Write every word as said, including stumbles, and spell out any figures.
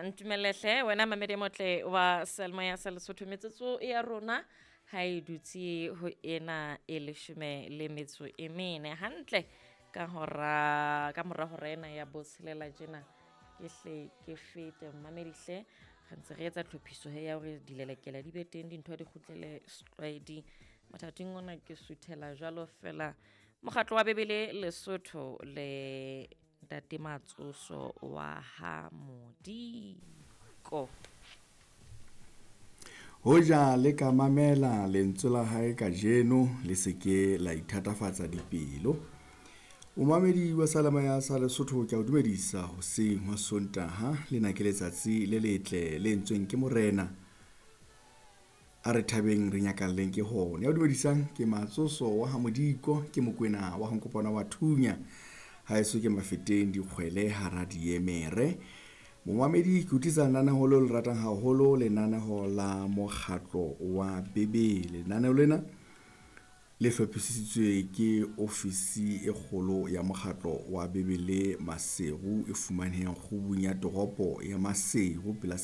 Ntumelehle wena mamedi motle wa Selma ya sa Lesotho metsotso ya rona ha e dutse ho ena e leshome le metso e mene hantle ka hora ka mora hora ena ya botshelela tjena ke hle ke fete mamedihle re ntse re etsa tlhophiso he ya hore dilelekela di be teng dintho di kgutlele setlwaeding. Mathateng ona ke suthela jwalo fela mokgatlo wa Bebele Lesotho le Ntate Matsoso wa ha Modiko. Hoja le ka mamela lentswe la hae kajeno, le se ke la ithatafatsa dipelo. Momamedi wa Salama ya sa Lesotho, ke a o dumedisa hoseng hwa Sontaha. Lena ke letsatsi le letle le entsweng ke Morena. A re thabeng re nyakalleng ke hona. Ya o dumedisang ke Matsoso wa ha Modiko, ke Mokwena wa Nkopana wa Thunya. Haeso ke Mafeteng dikgwele hara diemere. Momamedi, ke utlwisa lenaneho leo le ratang haholo, lenaneho la mokgatlo wa Bebele. Lenaneho lena le hlophisitswe ke ofisi e kgolo ya mokgatlo wa Bebele Maseru e fumanehang kgubung ya toropo ya Maseru pela